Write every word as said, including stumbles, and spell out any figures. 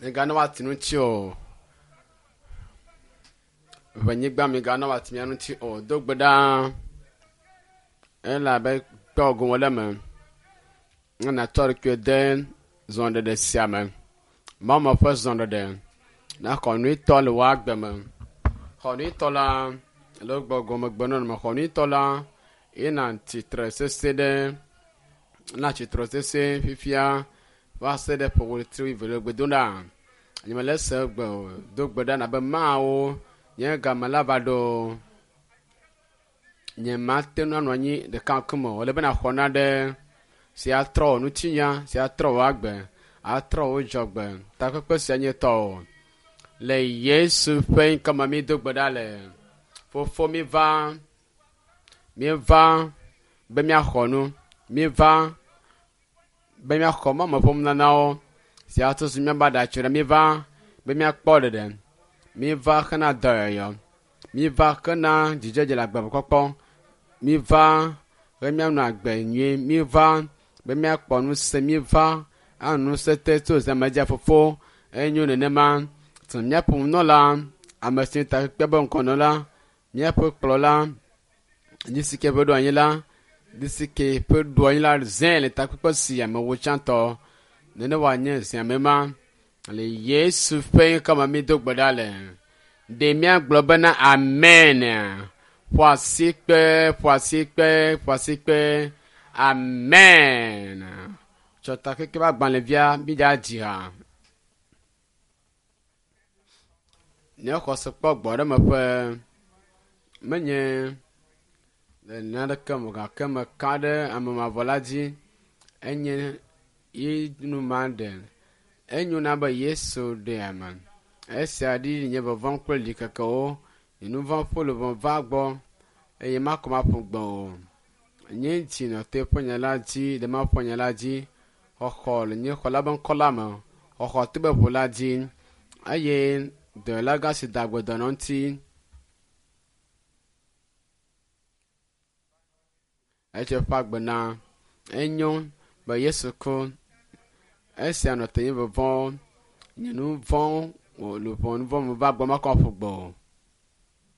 Migana woati ŋuti o. Ʋenyigba migana woati mía ŋuti o. Do gbe ɖa elabe kpɔ gome le eme. Ne nàtsɔ ɖokuiwò de zɔɖeɖe sia me. Mawume ƒe zɔɖeɖe. Naxɔ nyuitɔ le wò agbe me. Xɔ nyuitɔ la le gbɔgɔmegbenɔnɔme. Xɔ nyuitɔ la yina tsitre sese ɖe na tsitre sese fifia va se ɖe ƒe ɣleti wuieve le gbe dom ɖa. Nyemele se gbe o. Do gbe ɖa nabe Mawu nye game la va ɖo. Nyemate ŋu anɔ anyi ɖeka ŋkume o. Ele be nàxɔ naɖe si atrɔ wò ŋutinya, si atrɔ wò agbe, atrɔ wò dzɔgbe. Takpekpe sia nye tɔwò. Le Yesu ƒe ŋkɔme mi do gbe ɖa le. Fofo mi va, mi va be míaxɔ nu. Mi va be míaxɔ Mawu ƒe nunanawo si atutu míaƒe aɖatsi ɖe. Mi va be míakpɔ ɖeɖe. Mi va hena dɔyɔyɔ. Mi va hena dzidzedze le agbemekpɔkpɔ. Mi va be míanɔ agbe nyui. Mi va be míakpɔ ŋusẽ. Mi va anɔ ŋusẽ te tso zãme dzi fofo. Enyo nenema. Tu míaƒe nunɔla, ame si takpekpe be ŋkɔnɔla, míaƒe kplɔla, nu si ke ƒe ɖo anyi la, nu si ke ƒe ɖo anyi la zẽ le takpekpe sia me wu tsãtɔ. Nene wòanye zẽame ma. Le Yesu ƒe ŋkɔme mi do gbe ɖa le. Ɖe míagblɔ bena amen. Ƒo asi kpe, ƒo asi kpe, ƒo asi kpe. Amen. Tsɔ takpekpe ƒe agbalẽvia mi dza dzi ha. Nye xɔse kpɔ gbɔ ɖe meƒe menye le naneke me o gake meka ɖe ame mavɔ la dzi. Enye ye nu ma ɖe. Enyo na be Yesu ɖe ame. Esia ɖi nye vɔvɔ̃ kple ɖikekewo. Nye nu vɔ̃ ƒe luʋɔ va gbɔ eye makɔ maƒu gbe o. Nye dzi nɔ te ƒe nya la dzi le Mawu ƒe nya la dzi. Xɔxɔ le nye xɔla be ŋkɔ la me. Xɔxɔ to be ʋu la dzi eye dɔyɔla gã si da gbe dɔnɔ ŋuti. Etsɔ eƒe agbe na. Enyo be Yesu ku. Esia nɔ te nye vɔvɔ̃. Nye nu vɔ̃ luʋɔ nu vɔ̃ me va gbɔ makɔ aƒu gbe o.